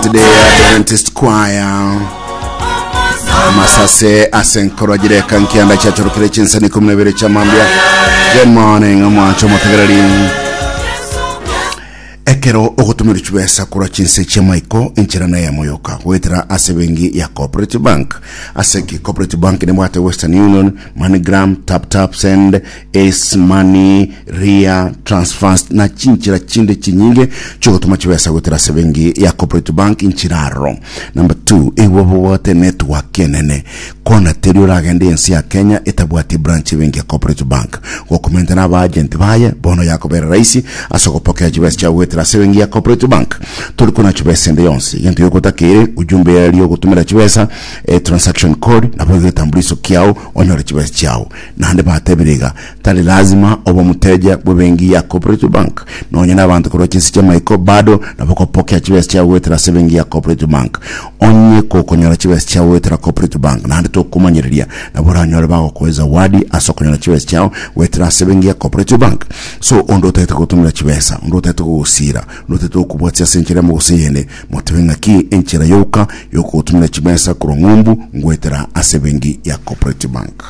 Today Adventist Choir masase ase nkoro jireka nkianda chiachorokire chinsani ikumi na ibere chia mambia. Good morning, omwancho omotegereri. Ekero ogotumera chibesa korwa chinse chi'amaiko, enchera neyemo yoka, goetera ase ebenki ya Cooperative Bank. Ase ki Cooperative Bank nebwate Western Union, MoneyGram, TapTap Send, Ace Money, Ria, Transfast na chinchera chinde chinyinge chiogotoma chibesa goetera ase ebenki ya Cooperative Bank inchera aroro. Number 2, igwe obwate network enene. Kona teri oragende ense ya Kenya etabwati branch ebenki ya Cooperative Bank. Gokomenta na aba agent baye, bono yakobera rahisi ase ogopokea chibesa chiao goetera ase ebenki ya Cooperative Bank. Tori kona chibesa ende yonsi. Egento giokotakeire, ujumbe eria ogotumera chibesa, e transaction code, nabo egetambuliso kiao onyore chibesa chiao. Naende batebire iga, Tari lazima obe omoteja bw'ebenki ya Cooperative Bank. Nonya nabanto korwa chinse chi'amaiko bado nabo okopokea chibesa chiao goetera ase ebenki ya Cooperative Bank. Onye gokonyora chibesa chiao goetera Cooperative Bank naende tokomanyereria, nabo oranyore bagokoe zawadi ase okonyora chibesa chiao goetera ase ebenki ya Cooperative Bank. So onde otagete gotomera chibesa, onde otagete gogosira, onde otagete gokobwatia ase enchera emo gose eyende, motebe ng'aki enchera yoka yokogotomera chibesa korwa ng'umbu ngoetera ase ebenki ya Cooperative Bank.